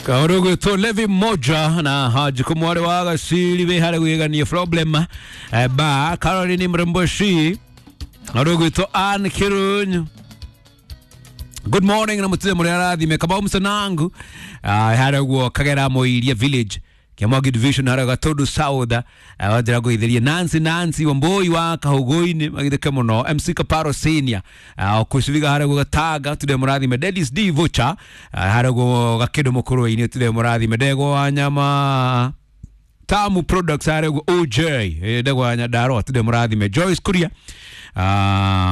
Kaurugwitwo Levi Moja na Haji Kumwari wa Gaciri wĩ harĩa gwĩgania problem ba Caroline Mremboshi Arugwitwo Ann Kirunyu. Good morning na mutire muri arathime Kamau Msanangu harĩa guo Kagera Moiria village Kiamwagi division harĩa Gatundu South, wanjira ngũitherie Nancy Nancy Wambui wa Kahuguini magithike muno MC Kaparo Senior, kuciviga harĩa guo Gatanga tude mũrathime Dennis D Vocha, harĩa guo Gakindu Mukurwe-inĩ tude mũrathime Ndegwa wa nyama Tamu Products harĩa guo OJ, Ndegwa wa Nyandarua tude mũrathime Joyce Kuria,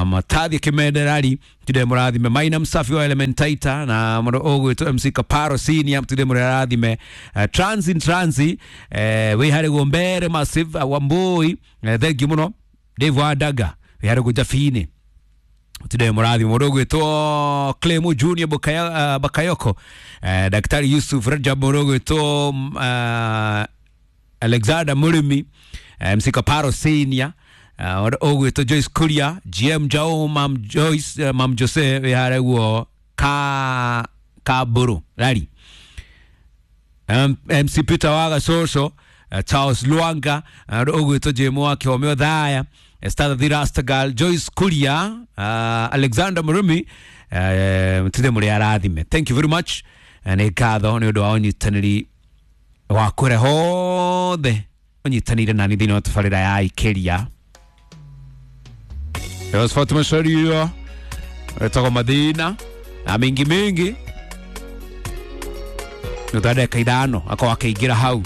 Matathi Kimenderari tude mũrathime Maina Msafi wa Elementaita na mũndũ ũgwĩtwo MC Kaparo Senior tude mũrathime Transi Transi, wĩ harĩ guo Mbere Massive, Wambui, thank you mũno Dave Wadaga wĩ harĩ guo Jabini tude mũrathime mũndũ ũgwĩtwo Clemo Junior Bukaya, Bakayoko, Daktari Yusuf Rajab mũndũ ũgwĩtwo Alexander Murimi, MC Kaparo Senior, ũgwĩtwo Joyce Kuria GM Jao Mam Joyce, Mam Jose wĩ harĩa guo ka Kaburu rari MC Peter Waga Soso, Charles Luanga, ũgwĩtwo Jemo wa Kĩhomeo Thaya, Esther the Rastagal, Joyce Kuria, Alexander Murimi, tude mũrĩ arathime. Thank you very much. Nĩ ngatho nĩ ũndũ wa ũnyitanĩri wa kũrĩa hothe ũnyitanĩire nani thĩinĩ wa tabarĩra ya Ikeria. Josephat Macharia wetagwo Mathina na mingi mingi nĩ ndagĩka 5 akorwo akĩingĩra hau.